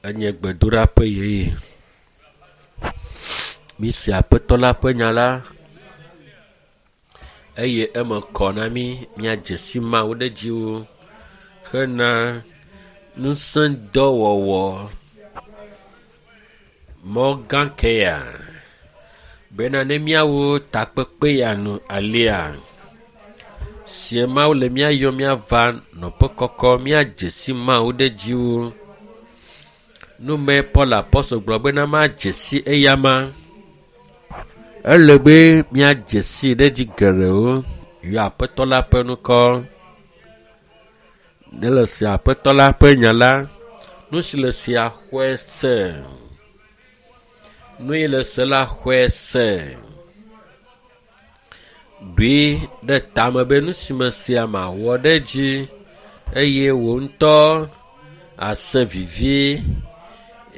Enye gbedoɖaƒe yeye. Mise aƒetɔ la ƒe nya la eye eme kɔ na mí míadze si Mawu ɖe dzi wu hena ŋusẽdɔwɔwɔ. Mɔ gã ke ya bena ne míawo takpekpe ya nu alea sie Mawu le mía yɔm míava nɔƒe kɔkɔ míadze si Mawu ɖe dzi wu. Nume Paul apɔstol gblɔ bena madze si eyama. Ele be míadze si ɖe dzi geɖewo yɔ aƒetɔ la ƒe ŋkɔ. Ne le se aƒetɔ la ƒe nya la, nu si le sia xɔe se. Nu yi le se la xɔe se. Ɖoe ɖe tame be nu si me sia mawɔ ɖe edzi eye wò ŋutɔ ase vivi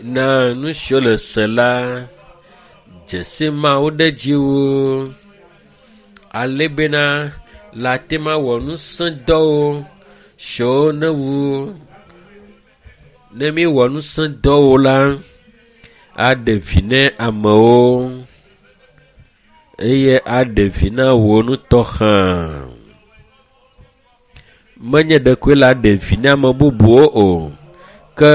na nu siwo le se la. Dzesi Mawu ɖe dzi wu ale bena le ate ma wɔ ŋusẽdɔwo siwo ne wu ne míwɔ ŋusẽdɔwo la aɖe vi ne amewo eye aɖe vi na wò ŋutɔ hã. Menye ɖekoe la ɖe vi na ame bubuwo o ke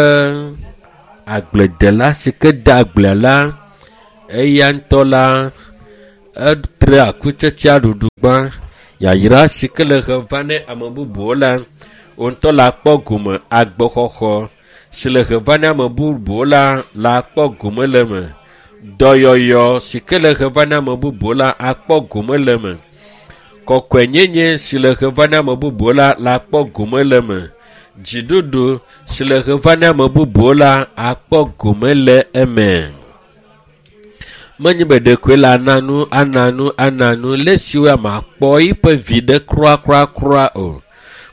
agbledela si ke de agblea la eya ŋutɔ la etre akutsetsea ɖuɖu gbã. Yayra si ke le he va ne ame bubuwo la wò ŋutɔ la kpɔ gome agbexɔxɔ si le he va ne ame bubuwo la la kpɔ gome le eme. Dɔyɔyɔ si ke le he va ne ame bubuwo la akpɔ gome le eme. Kɔkɔenyenye si le he va ne ame bubuwo la la kpɔ gome le eme. Dziɖuɖu si le he va ne ame bubuwo la akpɔ gome le eme. Menye be ɖekoe la ana nu ana nu ana nu le siwo ame akpɔ eƒe viɖe kura o.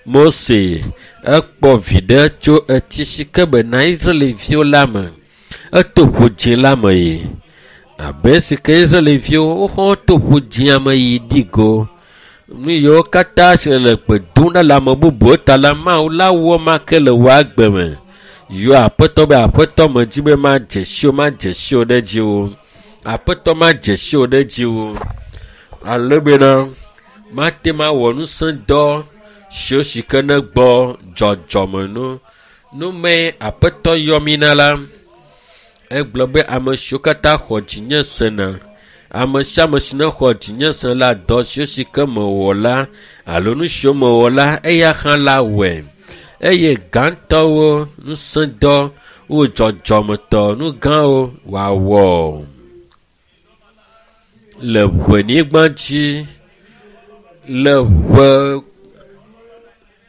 Mose ekpɔ viɖe tso etsi si ke bena Israelviwo la me. Eto ƒu dzĩ la me yi. Abe si ke Israelviwo woxɔ to ƒu dzĩa me yi ɖi go. Nu yiwo katã si le gbe dom ɖa le ame bubuwo ta la Mawu la wɔ ma ke le wò agbe me. Yɔ aƒetɔ be aƒetɔ medzi be madze si wo madze si wo ɖe dzi wo. Aƒetɔ madze si wo ɖe dzi wo. Ale bena mate ma wɔ ŋusẽdɔ siwo si ke ne gbɔ dzɔdzɔme nu. Nume aƒetɔ yɔ mí na la, egblɔ be ame siwo katã xɔ dzinye sena, ame sia ame si nexɔ dzinye se la, dɔ siwo si ke mewɔ la alo nu siwo mewɔ la, eya hã la wɔe. Eye gãtɔwo, ŋusẽdɔ, wo dzɔdzɔmetɔ, nu gãwo wòawɔ le ʋenyigba dzi, le ʋe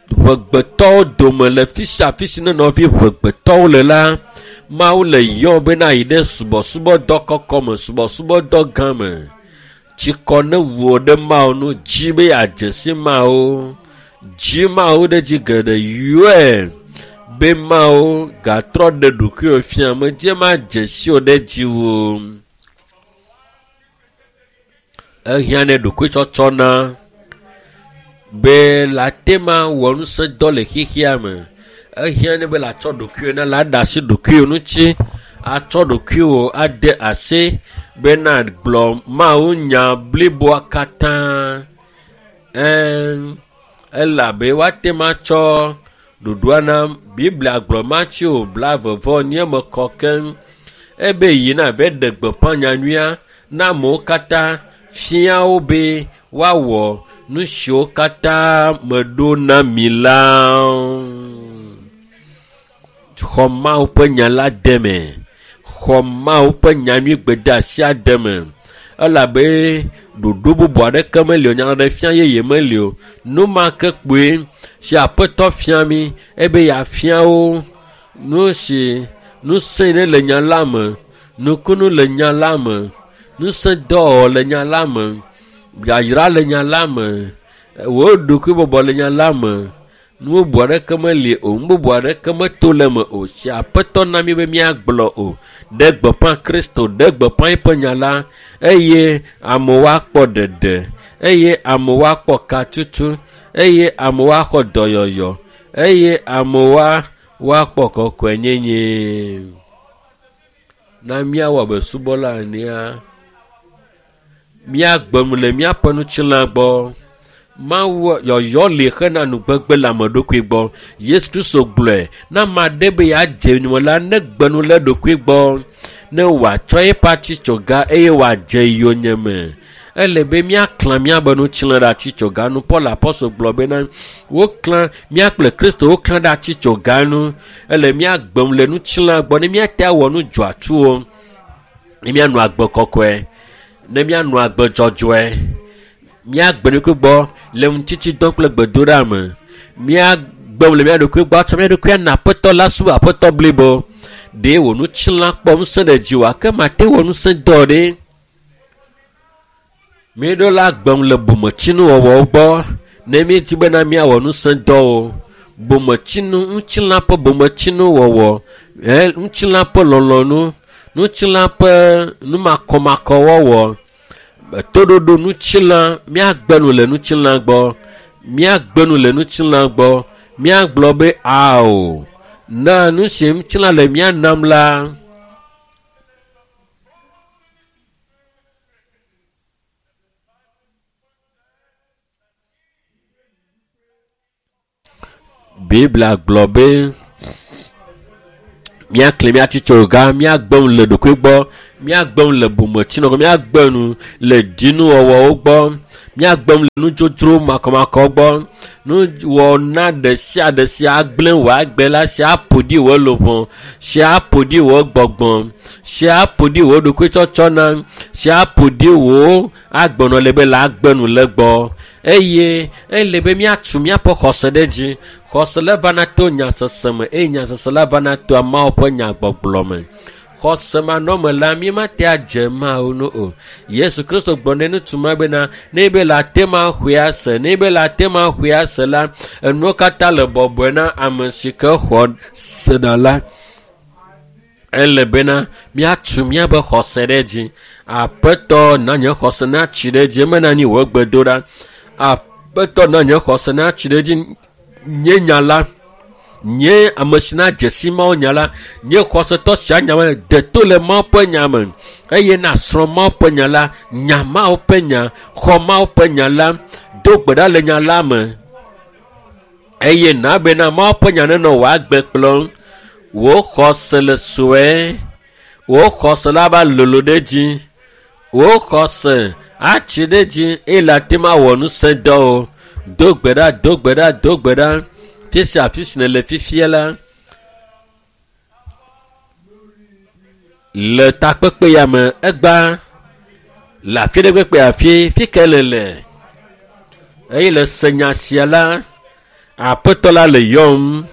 ʋegbetɔwo dome le fi sia fi si ne nɔvi ʋegbetɔwo le la, Mawu le yɔ bena yi ɖe subɔsubɔdɔ kɔkɔ me, subɔsubɔdɔ gã me. Tsikɔ ne wu wò ɖe Mawu nu, dzi be yeadze si Mawu. Dzi Mawu ɖe dzi geɖe yɔe be Mawu gatrɔ ɖe ɖokuiwò fia medze madze si wò ɖe dzi wu. Ehiã ne ɖokuitsɔtsɔ na be la te ma wɔ ŋusẽdɔ le xexea me. Ehiã ne be la tsɔ ɖokuiwò na la ɖe asi ɖokuiwò ŋuti atsɔ ɖokuiwò ade asi bena gblɔ Mawu nya bliboa katã. Ɛɛ elabe woate ma tsɔ ɖoɖoa na Biblia gblɔ Mateo 22 eme kɔ keŋ ebe yina va ɖe gbeƒã nyanyuia na amewo katã fia wo be woawɔ nu siwo katã meɖo na mi la. Xɔ Mawu ƒe nya la de me. Xɔ Mawu ƒe nyanyui gbedeasia de me. Elabe ɖoɖo bubu aɖeke meli o, nyaɖeɖefia yeye meli o. Nu ma ke kpoe si aƒetɔ fia mí ebe yeafia wo nu si ŋusẽ ne le nya la me, nukunu le nya la me, ŋusẽdɔwɔwɔ le nya la me, yayra le nya la me, wò ɖokuibɔbɔ le nya la me. Nu bubu aɖeke meli o, nu bubu aɖeke meto le eme o. Si aƒetɔ na mí be míagblɔ o. Ɖe gbeƒã Kristo, ɖe gbeƒã eƒe nya la eye amewo akpɔ ɖeɖe, eye amewo akpɔ katutu, eye amewo axɔ dɔyɔyɔ, eye amewo woakpɔ kɔkɔenyenye. Na míawɔ abe subɔla enea, míagbe nu le míaƒe ŋutilã gbɔ. Mawu yɔyɔ li hena nugbegbe le ame ɖokui gbɔ. Yesu Kristo gblɔe ne ame aɖe be yeadze yonyeme la, negbe nu le eɖokui gbɔ ne wòatsɔ eƒe atitsoga eye wòadze yonyeme. Ele be míaklã míabe ŋutilã ɖe atitsoga nu. Paul apɔstol gblɔ bena woklã mía kple Kristo woklã ɖe atitsoga nu. Ele míagbe nu le ŋutilã gbɔ ne míate awɔ nu dzɔatsuwo, ne míanɔ agbe kɔkɔe, ne míanɔ agbe dzɔdzɔe. Míagbe ɖokui gbɔ le ŋutitsidɔ kple gbedoɖa me. Míagbe nu le mía ɖokui gbɔ atsɔ mía ɖokui ana aƒetɔ la subɔ aƒetɔ blibo. Ɖe wò ŋutilã kpɔ ŋusẽ ɖe dziwòa ke mate wɔ ŋusẽ dɔ ɖe. Míeɖo la gbe nu le bometsinuwɔwɔwo gbɔ ne míedi bena míawɔ ŋusẽ dɔwo. Bometsinu, ŋutilã ƒe bometsinuwɔwɔ, ŋutilã ƒe lɔlɔ̃nu, ŋutilã ƒe numakɔmakɔwɔwɔ, toɖoɖo ŋutilã, míagbe nu le ŋutilã gbɔ, míagbe nu le ŋutilã gbɔ, míagblɔ be ao, na nu si ŋutilã le mía nam la. Biblia gblɔ be míaklẽ mía atitsoga, míagbe nu le ɖokui gbɔ, míagbe nu le bometsinɔ gbɔ, míagbe nu le dzinuwɔwɔwo gbɔ, míagbe nu le nudzodzro makɔmakɔ gbɔ. Nuwɔna ɖe sia ɖe si agblẽ wò agbe la, si aƒo ɖi wò luʋɔ, si aƒo ɖi wò gbɔgbɔ, si aƒo ɖi wò ɖokuitsɔtsɔna, si aƒo ɖi wò agbenɔ le be le agbe nu le gbɔ. Eye ele be míatu míaƒe xɔse ɖe dzi. Xɔse la vana to nyasese me eye nyasese la vana to Mawu ƒe nyagbɔgblɔ me. Xɔse manɔme la, mímate adze Mawu nu o. Yesu Kristo gblɔ ne ŋutsu ma bena, ne be le ate ma xɔe ase, ne be le ate ma xɔe ase la, enuwo katã le bɔbɔe na ame si ke xɔ sena la. Ele bena míatu míaƒe xɔse ɖe dzi. Aƒetɔ na nye xɔse natsi ɖe dzi, eme na nyi wò gbedoɖa. Aƒetɔ na nye xɔse natsi ɖe dzi. Nye nya la, nye ame si na dze si Mawu nya la, nye xɔsetɔ sia nya me de to le Mawu ƒe nya me eye nasrɔ̃ Mawu ƒe nya la, nya Mawu ƒe nya, xɔ Mawu ƒe nya la, do gbe ɖa le nya la me eye na bena Mawu ƒe nya nenɔ wò agbe kplɔm. Wò xɔse le sue, wò xɔse la va lolo ɖe dzi, wò xɔse atsi ɖe dzi eye le ate ŋu awɔ ŋusẽ dɔwo. Do gbe ɖa, do gbe ɖa, do gbe ɖa. Fi sia afi si nèle fifia la, le takpekpe ya me egba le afi ɖe kpekpe afi fi ke le le eye le se nya sia la, aƒetɔ la le yɔm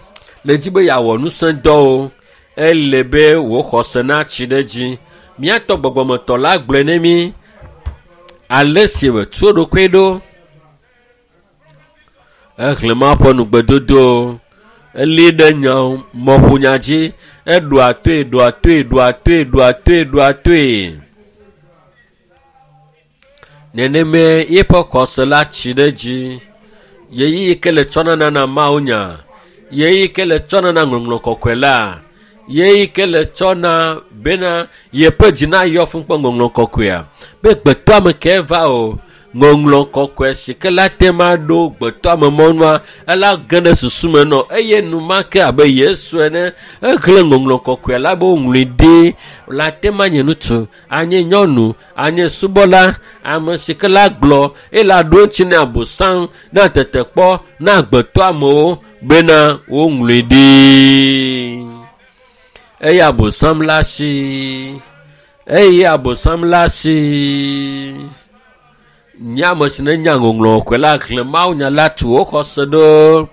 le dzi be yeawɔ ŋusẽ dɔwo. Ele be wò xɔse natsi ɖe dzi. Míatɔ gbɔgbɔmetɔ la gblɔe ne mí ale si wòtu eɖokui ɖo. Exlẽ Mawu ƒe nugbedodo, eli ɖe nya mɔƒonya dzi, eɖoa toe, ɖoa toe, ɖoa toe, ɖoa toe, ɖoa toe. Nenemae yeƒe xɔse la tsi ɖe dzi. Ɣeyiɣi ke le tsɔnana na Mawu nya, ɣeyiɣi ke le tsɔna na ŋɔŋlɔ kɔkɔe la, ɣeyiɣi ke le tsɔna bena yeƒe dzi nayɔ fũ kple ŋɔŋlɔ kɔkɔea. Be gbetɔame ke va o, ŋɔŋlɔ kɔkɔe si ke la te ma ɖo gbetɔame mɔnua, ela ge ɖe susu me nɔ eye enumake abe Yesu ene exlẽ ŋɔŋlɔ kɔkɔe la be woŋlɔe ɖi la te ma nye ŋutsu, anye nyɔnu, anye subɔla, ame si ke la gblɔ eye la ɖo eŋuti na Abosam, na tetekpɔ, na agbetɔamewo bena woŋlɔe ɖi. Eye Abosam la si, eye Abosam la si. Nye ame si ne nya ŋɔŋlɔ kɔkɔe la xlẽ Mawu nya la tu wo xɔse ɖo.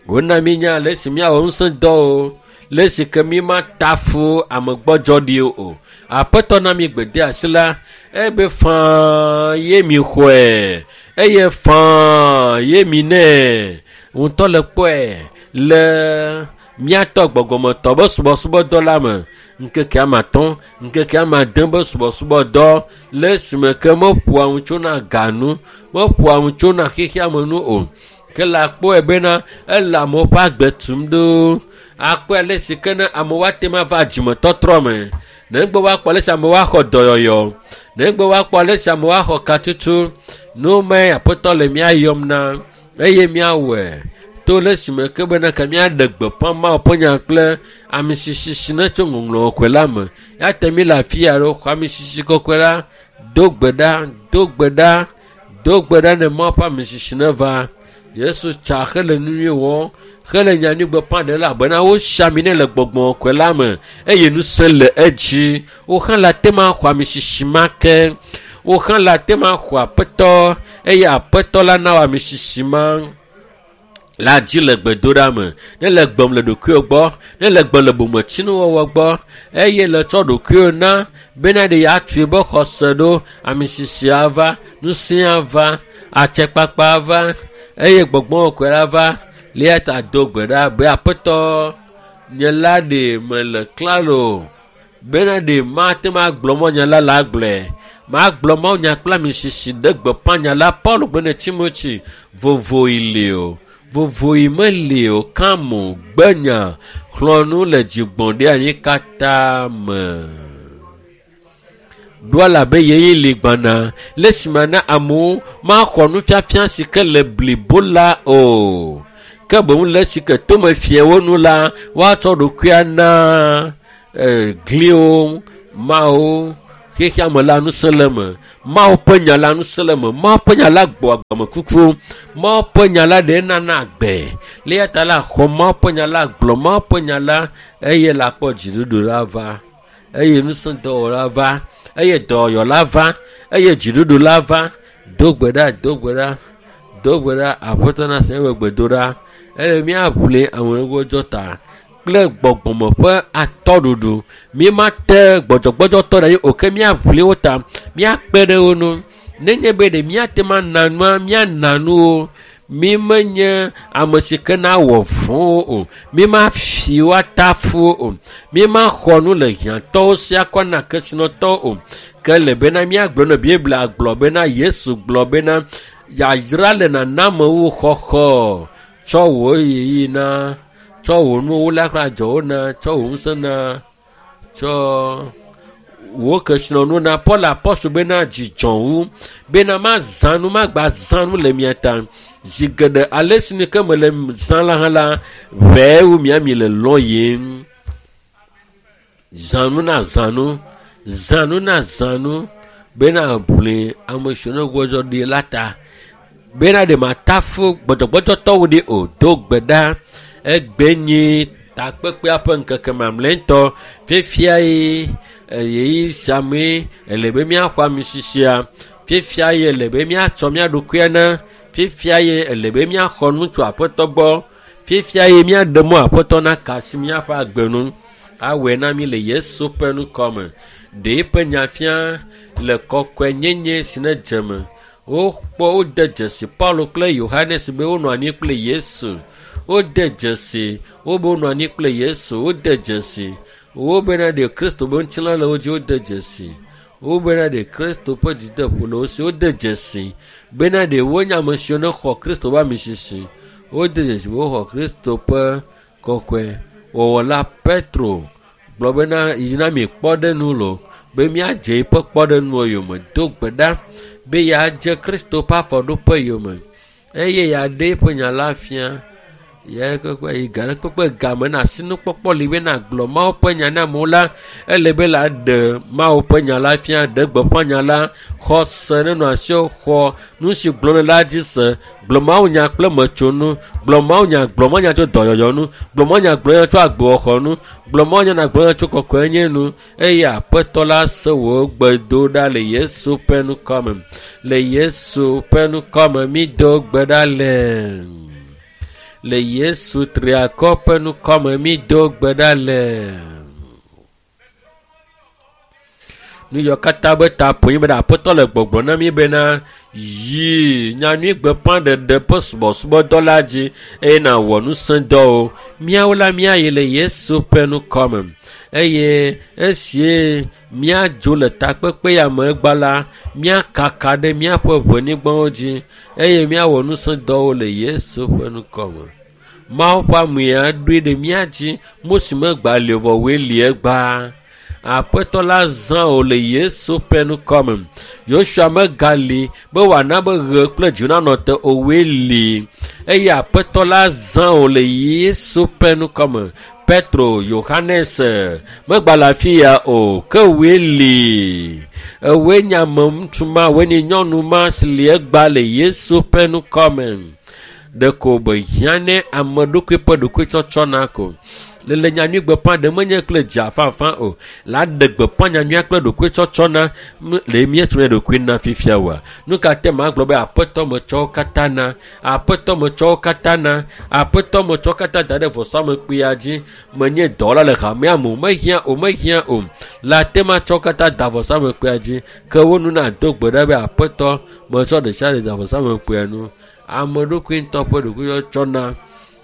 Wona mínya ale si míawɔ ŋusẽ dɔwo, le si ke mímata fu amegbɔdzɔ ɖi o. Aƒetɔ na mi gbedeasi la, ebe faa ye mi xɔe eye faa ye mi nɛ. Ŋutɔ le kpɔe le míatɔ gbɔgbɔmetɔ be subɔsubɔdɔ la me. Ŋkeke ame atɔ̃, ŋkeke ame ade be subɔsubɔdɔ le esime ke meƒoa nu tsona ga nu, meƒoa nu tsona xexeame nu o. Ke le akpɔe bena ele amewo ƒe agbe tum ɖo. Akpɔe ale si ke ne amewo ate ŋu ava dzimetɔtrɔ me. Negbe woakpɔ ale si amewo axɔ dɔyɔyɔ. Negbe woakpɔ ale si amewo axɔ katutu. Nu mae Aƒetɔ le mía yɔm na eye míawɔe to le esime ke bena ke míaɖe gbeƒã Mawu ƒe nya kple amisisi si ne tso ŋɔŋlɔ kɔkɔe la me. Ya te mí le afi ya ɖo xɔ amisisi kɔkɔe la do gbe ɖa, do gbe ɖa, do gbe ɖa ne Mawu ƒe amisisi neva. Yesu tsa hele nu nyui wɔm hele nyanyui gbeƒã ɖem elabena wosi ami nɛ le gbɔgbɔ kɔkɔe la me eye ŋusẽ le edzi. Wo hã le ate ŋu axɔ amisisi ma ke. Wo hã le ate ŋu axɔ Aƒetɔ eye Aƒetɔ la na wò amisisi ma la dzi le gbedoɖa me. Ne le gbem le ɖokuiwò gbɔ, ne le gbem le bometsinuwɔwɔ gbɔ eye le tsɔ ɖokuiwò na bena ɖe yeatu be xɔse ɖo, amisisi ava, ŋusẽ ava, atsɛkpakpa ava eye gbɔgbɔ kɔkɔe la va. Eya ta do gbe ɖa be Aƒetɔ, nye la ɖe mele klalo bena ɖe mate ŋu agblɔ mɔ nya la le agblɔe. Magblɔ mawunya kple amisisi ɖe gbeƒã nya la. Paulo gblɔ ne Timothy, vovoɣi li o, vovoɣi meli o, kam o, gbe nya, xlɔ̃ nu le dzigbɔɖianyi katã me. Ɖo elabe ɣeyiɣi li gbana le esime na amewo maxɔ nufiafia si ke le blibo la o. Ke boŋ le esi ke tome fia wo nu la, woatsɔ ɖokuia na gliwo, mawo, xexea me la ŋusẽ le eme. Mawu ƒe nya la ŋusẽ le eme. Mawu ƒe nya la gbɔ agbemekuku. Mawu ƒe nya la ɖe nana agbe. Le eya ta la xɔ Mawu ƒe nya la, gblɔ Mawu ƒe nya la eye la kpɔ dziɖuɖu la va. Eye ŋusẽdɔwɔla va. Eye dɔyɔyɔ la va. Eye dziɖuɖu la va. Do gbe ɖa, do gbe ɖa, do gbe ɖa. Aƒetɔ na se eƒe gbedoɖa. Eye míaʋli amegbɔdzɔ ta kple gbɔgbɔme ƒe atɔɖuɖu. Mímate gbɔdzɔgbɔdzɔtɔ ɖe anyi o ke míaʋli wo ta, míakpe ɖe wo ŋu. Nenye be ɖe míate ŋu ana nua, míana nuwo. Mímenye ame si ke nawɔ vɔ̃wo o. Mímafi wo atafu wo o. Mímaxɔ nu le hiãtɔwo si akɔ na kesinɔtɔwo o. Ke le bena míagblɔ ne Biblia gblɔ bena Yesu gblɔ bena yayra le nanamewo xɔxɔ. Tsɔ wò ɣeyiɣi na, tsɔ wò nuwo la kple adzɔwo na, tsɔ wò ŋusẽ na, tsɔ wò kesinɔnu na. Paul apɔstol bena dzidzɔ wu bena mazã nu, magba zã nu le mia ta. Zi geɖe ale si nu ke mele zã la hã la, ʋɛe wu mia mi le lɔ yim. Zã nu na zã nu, zã nu na zã nu bena ʋli ame siwo ne gbɔdzɔ ɖi la ta. Bena ɖe matafu gbɔdzɔgbɔdzɔtɔwo ɖi o. Do gbe ɖa. Egbe nyi takpekpea ƒe ŋkeke mamlɛtɔ. Fifia ye ɣeyiɣi sia mee ele be míaxɔ amisisia. Fifia ye ele be míatsɔ mía ɖokuia na. Fifia ye ele be míaxɔ nu tso Aƒetɔ gbɔ. Fifia ye míaɖe mɔ Aƒetɔ naka asi míaƒe agbe nu. Awɔe na mí le Yesu ƒe ŋkɔ me. Ɖe eƒe nya fia le kɔkɔenyenye si ne dze me. Wokpɔ wode dzesi Paulo kple Yohanes be wonɔ anyi kple Yesu. Wode dzesi wo be wonɔ anyi kple Yesu. Wode dzesi wo bena ɖe Kristo be ŋutilã le wo dzi. Wode dzesi wo bena ɖe Kristo ƒe dzideƒo le wo si. Wode dzesi bena ɖe wonye ame siwo ne xɔ Kristo ƒe amisisi. Wode dzesi be woxɔ Kristo ƒe kɔkɔe wɔwɔ la. Petro gblɔ bena yina mi kpɔɖenu lo be míadze eƒe kpɔɖenuwo yome. Do gbe ɖa be yeadze Kristo ƒe afɔɖoƒe yome eye yeaɖe eƒe nya la fia. Ya kpekpe yi ga ɖe kpekpe game na asinukpɔkpɔ li be nagblɔ Mawu ƒe nya na amewo la, ele be la ɖe Mawu ƒe nya la fia, ɖe gbeƒã nya la, xɔ se nenɔ asiwò, xɔ nu si gblɔm nèle la dzi se, gblɔ Mawu nya kple metsonu, gblɔ Mawu nya, gblɔ Mawu nya tso dɔyɔyɔ nu, gblɔ Mawu nya, gblɔ nya tso agbewɔxɔ nu, gblɔ Mawu nya nagblɔ nya tso kɔkɔenyenye nu eye Aƒetɔ la se wò gbedoɖa le Yesu ƒe ŋkɔ me. Le Yesu ƒe ŋkɔ me mído gbe ɖa le. Le Yesu triakɔ ƒe ŋkɔ me mído gbe ɖa le. Nu yawo katã be ta ƒo nyi bena Aƒetɔ le gbɔgblɔm na mí bena yi nyanyui gbeƒãɖeɖe ƒe subɔsubɔdɔ la dzi eye nàwɔ ŋusẽdɔwo. Míawo la míayi le Yesu ƒe ŋkɔ me. Eye esie míadzo le takpekpe ya me egba la, míakaka ɖe míaƒe ʋenyigbawo dzi eye míawɔ nusẽdɔwo le Yesu ƒe ŋkɔ me. Mawu ƒe amea ɖoe ɖe mía dzi. Mose megba li o vɔ woe li egbea. Aƒetɔ la zã wò le Yesu ƒe ŋkɔ me. Yosua megali be wòana be ɣe kple dzo nanɔ te o, woe li. Eye Aƒetɔ la zã wò le Yesu ƒe ŋkɔ me. Petro, Yohanes megba le afi ya o, ke woe li. Ewoe nye ame ŋutsu ma, woe nye nyɔnu ma si li egba le Yesu ƒe ŋkɔ me. Ɖeko be hiã ne ame ɖokui ƒe ɖokuitsɔtsɔ na ko. Le nyanyui gbeƒã ɖe menye kple dza fafã o. La ɖe gbeƒã nyanyuia kple ɖokuitsɔtsɔ na le míetu mía ɖokui na fifia oa. Nu ka te magblɔ be Aƒetɔ metsɔ wo katã na, Aƒetɔ metsɔ wo katã na, Aƒetɔ metsɔ wo katã da ɖe vɔsamlekpuia dzi. Menye dɔwɔla le hamea me o, mehiã o, mehiã o. La te matsɔ wo katã da vɔsamlekpuia dzi. Ke wo nu nado gbe ɖa be Aƒetɔ metsɔ ɖe sia ɖe da vɔsamlekpuia nu. Ame ɖokui ŋutɔ ƒe ɖokuitsɔtsɔ na.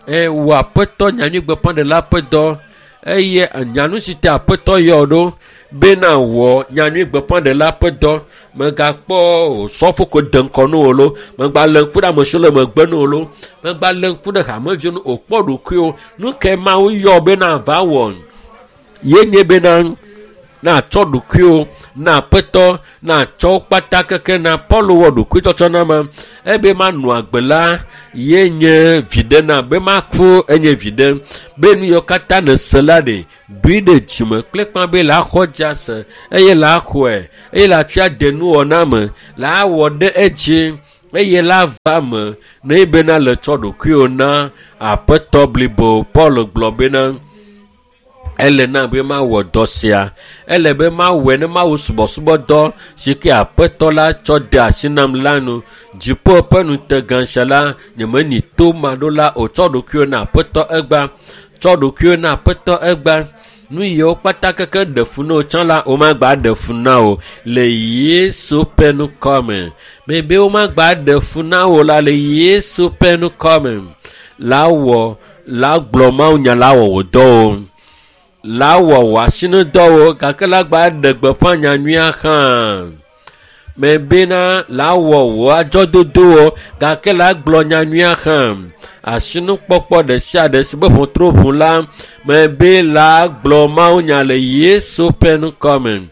Wò Aƒetɔ nyanyui gbeƒãɖela ƒe dɔ eye nyanu si te Aƒetɔ yɔ ɖo bena wɔ nyanyui gbeƒãɖela ƒe dɔ. Megakpɔ osɔfo ko de ŋkɔ na wò lo, megba lé ŋku ɖe ame siwo le megbe na wò lo, megba lé ŋku ɖe hameviwo ŋu o, kpɔ ɖokuiwò. Nu kae Mawu yɔ bena va wɔ? Ye nye bena natsɔ ɖokuiwò na Aƒetɔ, natsɔ wo kpata keke na Paul wɔ ɖokuitsɔtsɔ na ma. Ebe manɔ agbe la, ye nye viɖe na be maku enye viɖe. Be nu yiwo katã nèse la ɖe, ɖoe ɖe dzime kple kpã be la xɔ dzi ase eye la xɔe eye la tsɔe ade nuwɔna me, la wɔ ɖe edzi eye la va me ne bena le tsɔ ɖokuiwò na Aƒetɔ blibo. Paul gblɔ bena ele na be mawɔ dɔ sia, ele be mawɔe ne mawu subɔsubɔdɔ si ke Aƒetɔ la tsɔ de asi nam la nu. Dziƒo ƒe ŋutegã sia la, nyemenyi to maɖola o. Tsɔ ɖokuiwò na Aƒetɔ egba, tsɔ ɖokuiwò na Aƒetɔ egba. Nu yiwo kpata keke ɖe fu na wò tsã la, womagba ɖe fu na wò le Yesu ƒe ŋkɔ me. Mebe womagba ɖe fu na wò la le Yesu ƒe ŋkɔ me. La wɔ, la gblɔ mawunya la wɔ wò dɔwo. La wɔ wò asinudɔwo gake la gba ɖe gbeƒã nyanyuia hã. Mebena la wɔ wò adzɔdodowo gake la gblɔ nyanyuia hã. Asinukpɔkpɔ ɖe sia ɖe si be ʋɔtru ʋu la, mebe la gblɔ mawunya le Yesu ƒe ŋkɔ me.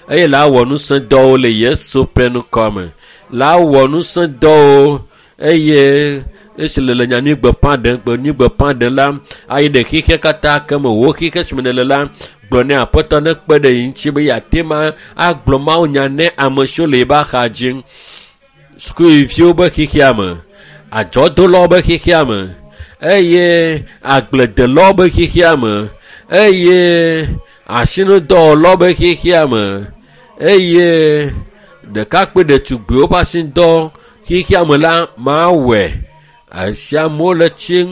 Eye la wɔ nusẽdɔwo le Yesu ƒe ŋkɔ me. La wɔ nusẽdɔwo eye esi le nyanyui gbeƒã ɖem, nyui gbeƒã ɖem la, ayi ɖe xixia katã ke me wò xixe si me nèle la, gblɔ ne Aƒetɔ nekpe ɖe ye ŋuti be yeate ma agblɔ mawunya ne ame siwo le yeƒe axa dzi. Sukuviwo be xixia me, adzɔdolawo be xixia me, eye agbledelawo be xixia me, eye asinudɔwɔlawo be xixia me, eye ɖekakpui ɖetugbiwo ƒe asinudɔ xixia me la, mawɔe. Esia amewo le tsi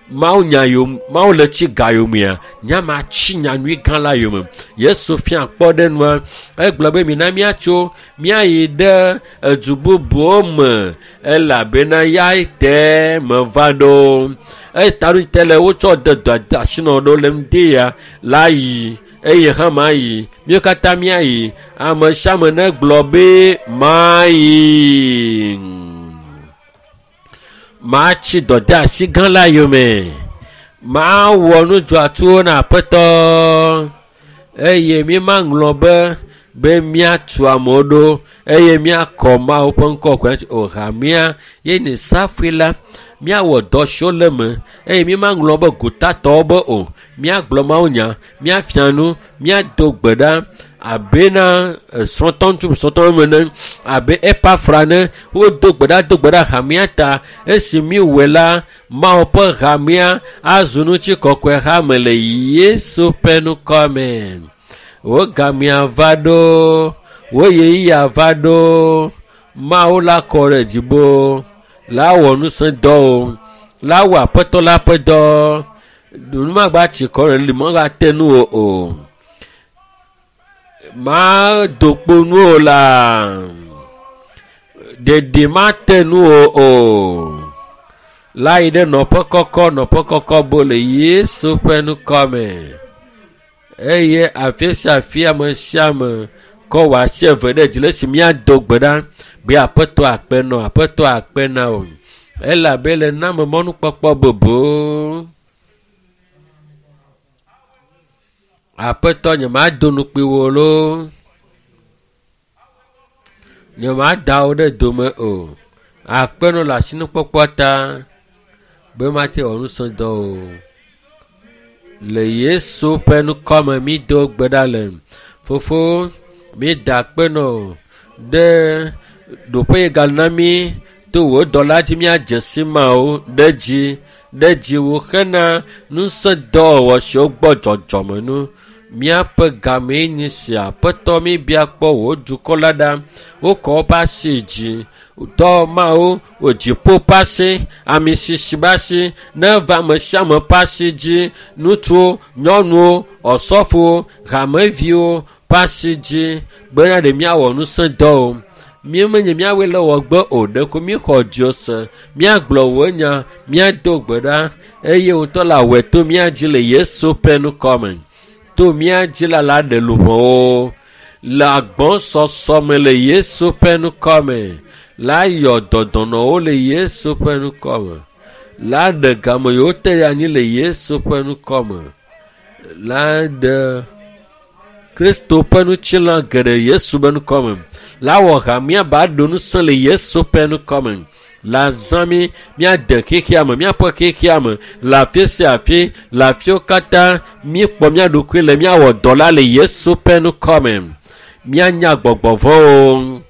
mawunya yome, Mawu le tsi ga yomea, nyama tsi nyanyui gã la yome. Yesu fia kpɔ ɖe nua, egblɔ be mina míatso míayi ɖe edu bubuwo me elabena ya te meva ɖo. Eya ta le wotsɔ de dɔ asi nɔ ɖo le ŋdi ya la yi eye hã mayi. Míwo katã míayi. Ame sia ame negblɔ be mayi. Matsi dɔdeasi gã la yome. Mawɔ nu dzɔatsuwo na Aƒetɔ eye mímaŋlɔ be míatu amewo ɖo eye míakɔ Mawu ƒe ŋkɔ kɔkɔe o. Hamea ye nye safui la, míawɔ dɔ siwo le eme eye mímaŋlɔ be gotatɔwo be o. Míagblɔ mawunya, míafia nu, míado gbe ɖa abena srɔ̃tɔ ŋutsu srɔ̃tɔ me ne abe Epafra ne wodo gbe ɖa do gbe ɖa hamea ta. Esi míwɔe la, Mawu ƒe hamea azu ŋutikɔkɔe hame le Yesu ƒe ŋkɔ me. Wo gamea va ɖo, wo ɣeyiɣia va ɖo. Mawu la kɔ ɖe dziƒo, la wɔ nusẽdɔwo, la wɔ Aƒetɔ la ƒe dɔ. Nu magba tsi kɔ ɖe li, magba te nu o o. Mado kpo nu o la, ɖeɖi mate nu o o. La yi ɖe nɔƒe kɔkɔ, nɔƒe kɔkɔ bo le Yesu ƒe ŋkɔ me. Eye afi sia afi ame sia ame kɔ wò asi eve ɖe dzi le esi míado gbe ɖa be aƒetɔ akpe nɔ aƒetɔ akpe na o elabe le na me mɔnukpɔkpɔ bubu. Aƒetɔ nyemado nukpui wò loo nyemada wò ɖe dome o akpe nɔ le asinukpɔkpɔ ta be mate wɔ ŋusẽ dɔ o. Le Yesu ƒe ŋkɔme mi do gbe ɖa le. Fofo, mi da akpe nɔ ɖe ɖoƒe yi gana mi to wò dɔla dzi míadze si mawo ɖe dzi ɖe dzi wò hena ŋusẽ dɔwɔwɔ siwo gbɔ dzɔdzɔme nu. Míaƒe gamee nye sia. Aƒetɔ mi bia kpɔ wò dukɔ la ɖa. Wokɔ woƒe asi dzi. Dɔ mawo wò dziƒo ƒe asi, ami sisi ƒe asi neva ame sia ame ƒe asi dzi. Ŋutsuwo, nyɔnuwo, osɔfowo, hameviwo ƒe asi dzi bena ɖe míawɔ ŋusẽ dɔ o. Míemenye míawoe le wɔgbe o ɖeko míxɔ dzo se. Míagblɔ wò nya, míado gbe ɖa eye wò ŋutɔ le awɔe to mía dzi le Yesu ƒe ŋkɔme. To mía dzi la la ɖe luʋɔwo le agbɔsɔsɔ me le Yesu ƒe ŋkɔme. La yɔ dɔdɔnɔwo le Yesu ƒe ŋkɔme. La ɖe game yiwo te ɖe anyi le Yesu ƒe ŋkɔme. La ɖe Kristo ƒe ŋutilã geɖe Yesu ƒe ŋkɔme. La wɔ hamea ba ɖo ŋusẽ le Yesu ƒe ŋkɔme. La zã mí míade xexea me, míaƒe xexea me le afi sia afi, le afiwo katã míekpɔ mía ɖokui le míawɔ dɔ la le Yesu ƒe ŋkɔme. Míanya gbɔgbɔ vɔ̃wo.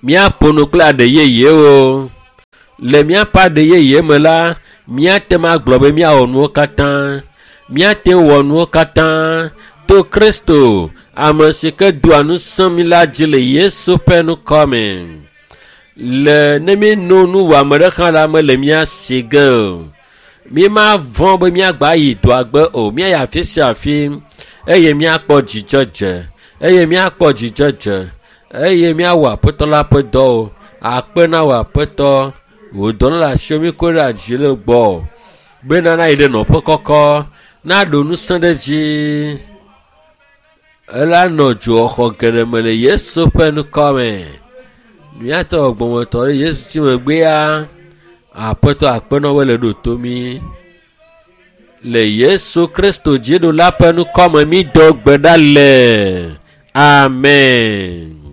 Míaƒo nu kple aɖe yeyewo. Le míaƒe aɖe yeye me la, míate ŋu agblɔ be míawɔ nuwo katã. Míate ŋu wɔ nuwo katã to Kristo, ame si ke doa ŋusẽ mí la dzi le Yesu ƒe ŋkɔme. Le ne míeno nuwɔame ɖe hã la mele mía si ge o. Mímavɔ̃ be míagba yi dɔa gbe o. Míayi afi sia afi eye míakpɔ dzidzedze eye míakpɔ dzidzedze eye míawɔ aƒetɔ la ƒe dɔwo. Akpe na wò aƒetɔ, wò dɔ le asiwò míkɔe ɖe dzi le gbɔ bena nayi ɖe nɔƒe kɔkɔ, naɖo ŋusẽ ɖe dzi. Ela nɔ dzoxɔxɔ geɖe me le Yesu ƒe ŋkɔme. Míatɔ gbɔmɔtɔ ɖe Yesu tsi megbea, aƒetɔ akpe na wo le ɖo to mí. Le Yesu Kristo dziɖula ƒe ŋkɔme mi do gbe ɖa le. Amen.